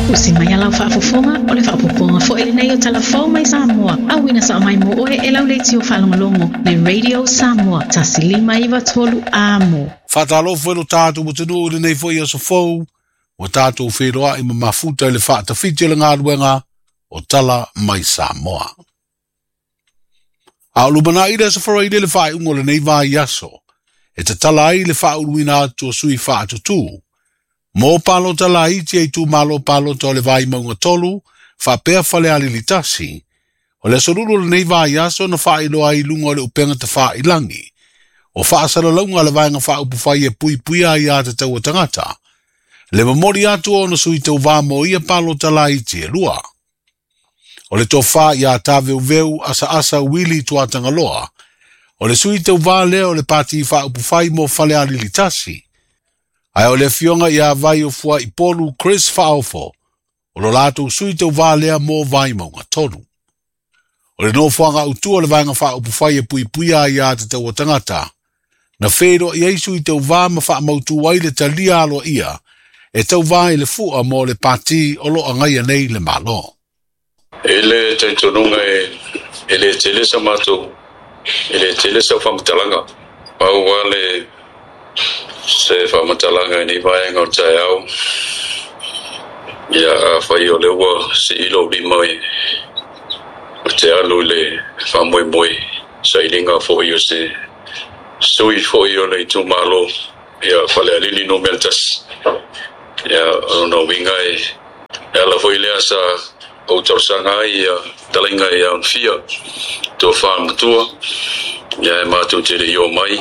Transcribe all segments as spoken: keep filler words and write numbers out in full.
Usi mai alau faafofoga o le faapopoga foi lenei o talafou mai Samoa. Auina sa mai mo oe e lau leitio faalogologo le Radio Samoa tasi lima iva tolu amo. Faatalofa lo tatou atunuu i lenei foi aso fou, ua tatou feiloai ma mafuta i le faatafiti o le galuega o Tala Mai Samoa. A o lumanai le aso Faraile le faaiuga o lenei vaiaso, e tatala ai le faauluina atu o sui faatutū mo palota laiti e itumalo palota o le Vaimauga tolu, faapea Falealili tasi. O le aso Lulu o lenei vaiaso na faailoa ai i luga o le upega tafailagi o faasalalauga a le vaega faaupufai e puipuia ai aiatatau a tagata, le momoli atu o ona sui tauvā mo ia palota laiti e lua. O le tofa ia Taveuveu Asaasa Wili Tuatagaloa, o le sui tauvā lea o le pati faaupufai mo Falealili tasi. Ae o le afioga ia Vaiofuaipolu Chris Faaofo, o lo latou sui tauvā lea mo Vaimauga tolu. O le nofoaga autu o le vaega faaupufai e puipuia ai aiatatau a tagata, na feiloai ai sui tauvā ma faamautu ai le talia aloaia e tauvā i le fua mo le pati o lo agaia nei le Malo. E le talitonuga e, e le tele sa matou, e le tele sau faamatalaga. Pau lava le se faamatalaga i nei vaega o le taeao. Ia afai o lea ua sii lou lima e o te alu i le faamoemoe sailiga foi o se sui foi o le itumalo ia Falealili numera tasi. Ia o lona uiga e e ala foi lea sa ou talosaga ai ia talaiga ia Onafia tofa matua ia e matou te le i o mai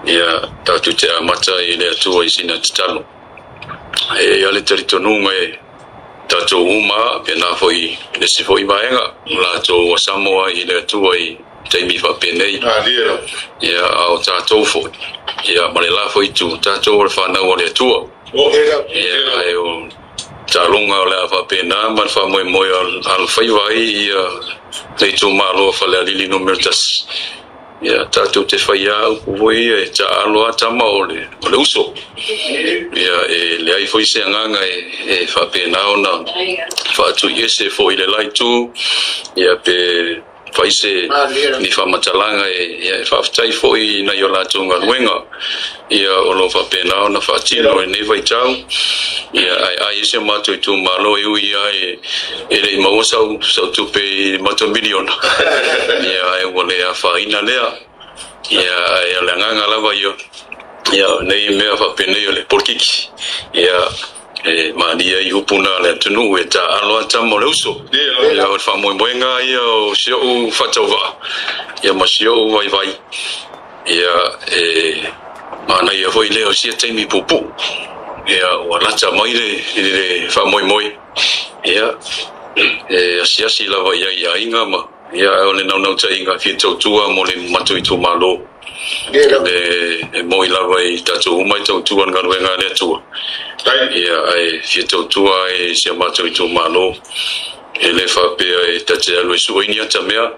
ia tatou te amata i le Atua i sina tatalo. E i ai le talitonuga e tatou uma pena foi le isi foi vaega latou ua Samoa i le Atua i taimi faapenei. Ia a o tatou foi ia ma le la foi itu tatou o le fanau a le Atua. Ia ae o taloga o le a faapena ma le faamoemoe alofaiva ai ia le itumalo o Falealili numera tasi. Ia tatou te faia upu foi ia e taaalo a tama o le, o le uso. Ia e leai foi se agaga e, e faapena ona faatuiese foi le la itu ia pe fai se ni faamatalaga e, ia, e faafetai foi nai o latou galuega ia o lo faapena ona faatino i lenei vaitau. Ia ae ai ese o matou itumalo e ui ia e, e le i maua sau, sau tupe i matou miliona. Ia ae ua le afaina lea. Ia ae o le agaga lava ia ia nei mea faapenei o le polokiki. Ia e malia i upu na le atunuu e taaalo a tama o le uso. Ia o le faamoemoega ia o si ou faatauvaa ia ma si ou vaivai. Ia e manaia foi lea o sia taimi puupuu. Ia ua lata mai le, le faamoemoe. Ia e asiasi lava i ai i aiga ma ia o le naunautaiga fia tautua mo le matou itumalo. Le e moi lava i tatou uma i tautua le galuega a le Atua. Ia ae fia tautua ai si a matou itumalo. E le faapea e ta te alu e sue ni ata mea.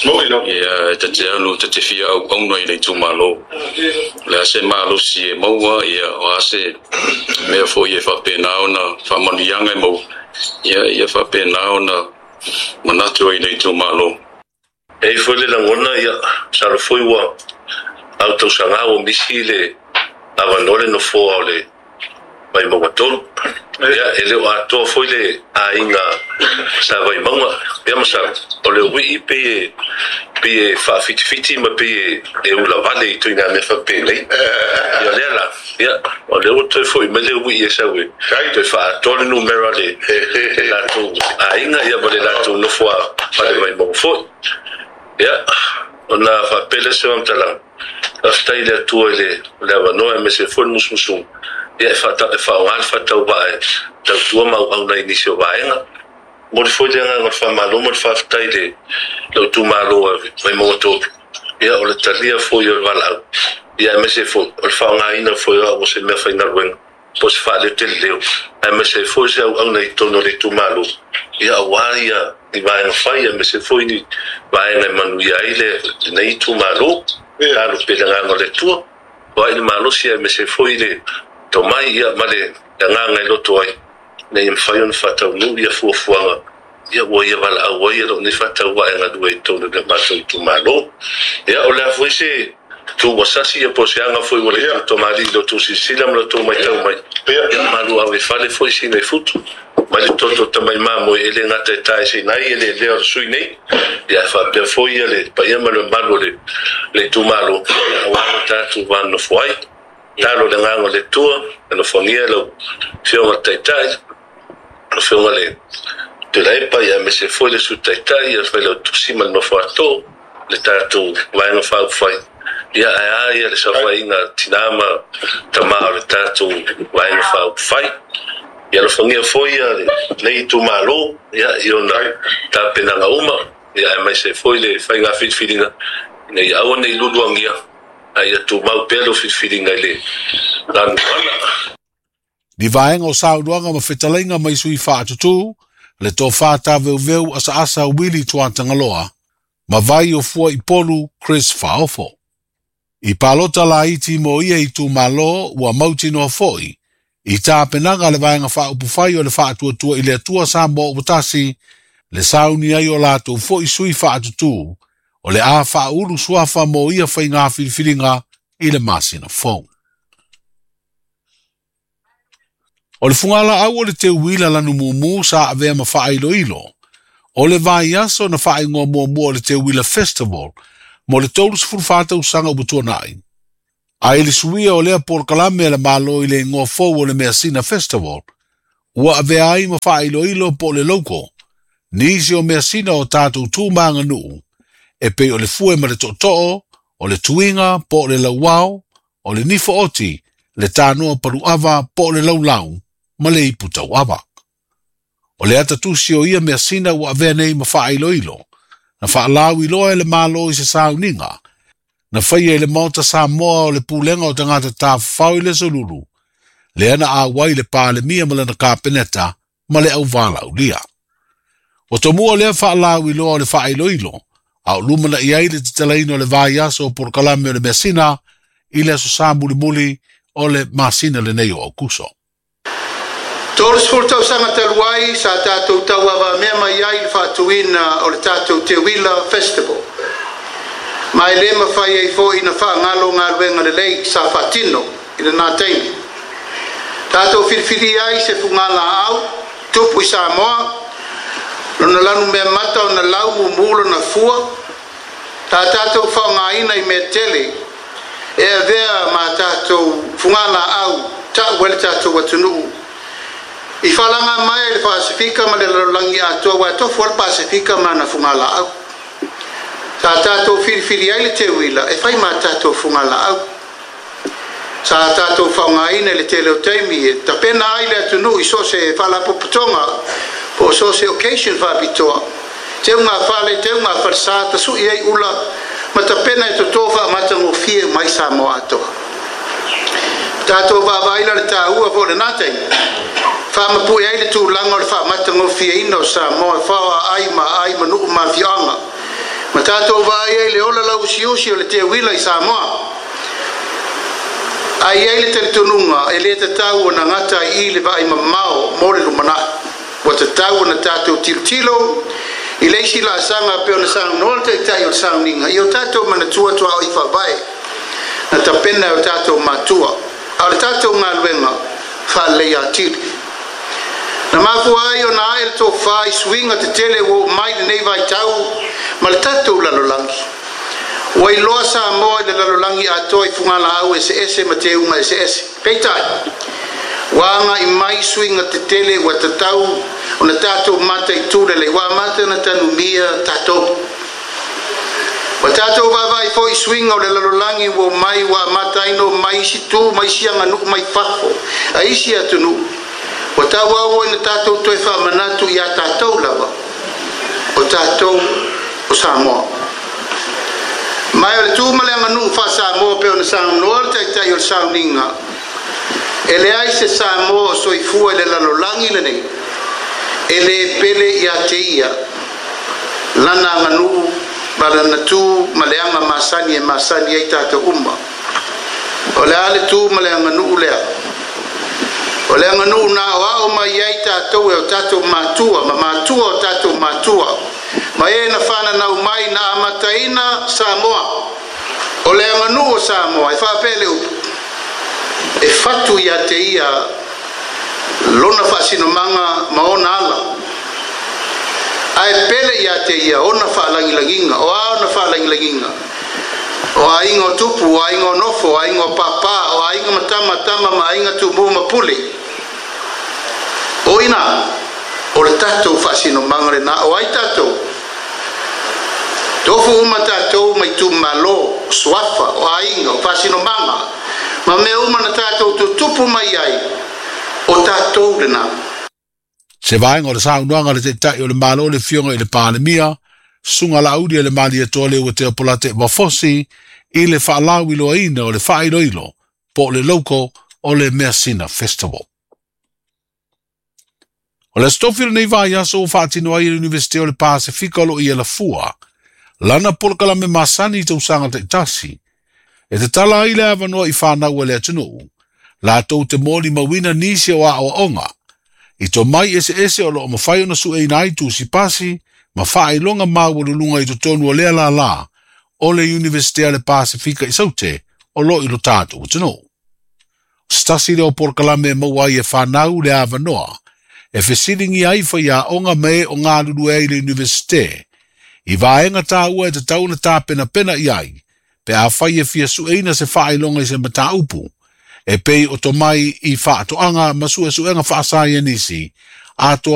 Ia e ta te alu ta te fia auauna i le itumalo. O le a se malosi e maua, ia o a se mea foi e faapena ona faamanuiaga e maua. Ia ia faapena ona manatu ai i le itumalo. E i ai foi le lagona ia masalo foi ua au tausaga ua misi le avanoa le nofoa o le Vaimauga tolu. Ia e le o atoa foi le aiga sa Vaimauga. Ia masalo o le uii pei e pei e faafitifiti ma pei e ulavale i ituaiga mea faapenei. Ia lea la, ia o lea ua toe foi mai le uii e sau e toe faaatoa le numera le le latou aiga ia ma le latou nofo a fale Vaimauga foi. Ia ona faapea lea o se faamatalaga, faafetai i le Atua i le le avanoa aemaise foi le musumusuga ia e faata e faaaoga le faatauvaa e tautua ma auauna i nisi o vaega. Momoli foi le agaga o le faamalo ma le faafetai i le lou itumalo e Vaimauga tolu. Ia o le talia foi o le valaau ia aemaise foi o le faaaogaina foi o au o se mea faigaluega po o se faaleo tele leo aemaise ai foi se auauna i totonu o le itumalo ia aua ia ni vaega fai aemaise foi ni vaega e manuia ai le lenei itumalo. Talo pea le agaga o le Atua, foai le malosi aemaise foi le tomai ia ma le agaga e loto ai. Ina ia mafai ona faataunuu ia fuafuaga ia ua ia valaau ai e loo nei faatauaʻe galue i totonu o le matou itumalo. Ia o le a foi se tuuasasi ia po o se aga foi ua le tutomalii i lo outou silasila ma lo outou matau mai. Ia malu ave fale foi sina i futu mai le toto tamai mamoe e le gata e taeseina ai e lelea o le sui nei. Ia faapea foi ia le paia ma le mamalu o le le itumalo auā lo tatou va nonofo ai. Talo le agaga o le Atua, alofagia lau Afioga i le Taitai, lau Afioga i le Tuilaepa, ia aemaise foi le Sui Taitai, ia le Failautusi ma le nofo ato, le tatou Vaega Faaupufai, ia ae a ia le saofaiga a tinā ma tamā o le tatou Vaega Faaupufai. Ia alofagia foi ia lenei itumalo, ia i ona tapenaga uma, ia aemaise foi le faiga filifiliga, ina ia aua ne i luluagia, ae ia tumau pea lau filifiliga i le lanuana. Ni vaega o saunoaga ma fetalaiga mai sui faatutū, le tofa taveuveu asaasa Willie Tuatagaloa, ma vai o fua i polu Chris Faofo. I palota laiti mo ia itumalo ua mautinoa foi, i tapenaga le vaega faaupufai o le faatuatua i le Atua Samoa ua tasi, le sauni ai o latou foi sui faatutū, o le a faaulu suafa mo ia faiga filifiliga i le masina fou. O le fugalaau o le teuila lanu mumu sa avea ma faailoilo, o le vaiaso na faaigoa muamua o le Teuila Festival mo le tolu sefulu fa tausaga ua tuanai. Ae i le suia o lea polokalame a le Malo i le igoa fou o le Measina Festival, ua avea ai ma faailoilo po o le logo, nisi o measina o tatou tu ma aganuu, e pei o le fue ma le tootoo, o le tuiga po o le lauao, o le nifo oti, le tanoa paluava po o le laulau, ma le ipu tauava. O le atatusi o ia measina ua avea nei ma faailoilo, na faalauiloa e le Malo i se sauniga, na faia i le Maota Samoa o le pulega o tagata tafafao i le aso Lulu, lea na auai le Palemia ma lana Kapeneta ma le auvalaulia. Ua tomua lea faalauiloa o le faailoilo, a o lumana'i ai le tatalaina o le vaiaso o polokalame o le measina i le aso Sa mulimuli o le masina lenei o Aukuso. Tolu sefulu tausaga talu ai sa tatou tauavamea mai ai i le faatuina o le tatou Teuila Festival. Ma e le mafai ai foi na faagalo galuega lelei sa faatino i lenā taimi. Tatou filifilia ai se fugalaau tupu i Samoa, lona lanu mea mata ona lau mumu lona fua, ta tatou faaaogaina i mea tele e avea ma tatou fugalaau ta'u ai le tatou atunuu. I falaga mai ai le Pasefika ma le lalolagi atoa ua tofu ai le Pasefika ma ana fugalaau. Sa tatou filifili ai le teuila e fai ma tatou fugalaau. Sa tatou faaaogaina i le tele o taimi e tapena ai le atunuu i so o se faalapotopotoga po o so o se occasion faapitoa. Teuga fale, teuga falesa, tasu'i ai ula ma tapena e totō faamatagofie mai Samoa atoa. Tatou vaavaai la le taua foi o lenā taimi. Faamapu'e ai le tulaga o le faamatagofieina o Samoa e faoa ai ma aai ma nuu ma afioaga. Ma tatou vaai ai le ola lauusiusi o le teuila i Samoa. Ae i ai le talitonuga e le tatau ona gata ai i le vaai mamao mo le lumanai. Ua tatau ona tatou tilotilo i le isi laasaga pei ona saunoa le Taitai o le sauniga i o tatou manatua tuaoi faavae na tapena e o tatou matua. A o le tatou galuega faalelei atili. Na mafua ai ona ae le tofa i suiga tetele ua oo mai lenei vaitau ma le tatou lalolagi. Ua iloa Samoa i le lalolagi atoa i fugalaau eseese ma teuga eseese. Peitai, ua agai mai suiga tetele ua tatau ona tatou mataitū lelei, ua amata ona tanumia tatou. Ua tatou vaavaai foi i suiga o le lalolagi ua oo mai ua amata ai ona oo mai isi tu ma isi aganuu mai fafo a isi atunuu. Ua tauau ina tatou toe faamanatu iā tatou lava, o tatou o Samoa. Ma o le tu ma le aganuu faa-Samoa pei ona saunoa le Taitai o le sauniga, e leai se Samoa o soifua i le lalolagi lenei e lē pele iā te ia lana aganuu ma lana tu ma le aga masani e masani ai tatou uma. O le a le tu ma le aganuu lea? O le aganuu na aoao mai ai tatou. tatou e o tatou matua ma matua o tatou matua ma e na fananau mai na amataina Samoa. O le aganuu o Samoa e faapea le upu e fatu ia te ia lona faasinomaga ma ona ala ae pele ia te ia ona faalagilagiga o a ona faalagilagiga o aiga o tupu o aiga o nofo o aiga o pāpā o aiga ma tama tama ma aiga tumū ma pule o ina o le tatou faasinomaga lenā o ai tatou tofu uma tatou mai itumālō suafa o aiga o faasinomaga ma mea uma na tatou tutupu mai ai o tatou lenā. Se vaega o le saunoaga le Taitai o le Malo le Afioga i le Palemia, Susuga Laaulialemalietoa Leuatea Polataivao Fosi i le faalauiloaina o le faailoilo po o le logo o le Measina Festival. O le Aso Tofi o lenei vaiaso ua faatino ai e le Iunivesite o le Pasefika o lo o i Alafua lana polokalame masani i tausaga taitasi e tatala ai le avanoa i fanau a le atunuu latou te molimauina nisi o aoaoga i tomai eseese o loo mafai ona sueina ai tusi pasi ma faailoga maualuluga i totonu o lea lālā o le Iunivesite a le Pasefika i Saute o lo o i lo tatou atunuu. O se tasi lea o polokalame e maua ai e fanau le avanoa e fesiligia ai faiaoga ma e o galulue ai i le Iunivesite i vaega taua e tatau ona tapenapena i ai pe afai e fia sueina se faailoga i se mataupu e pei o tomai i faatoaga ma suesuega faasaienisi atoa.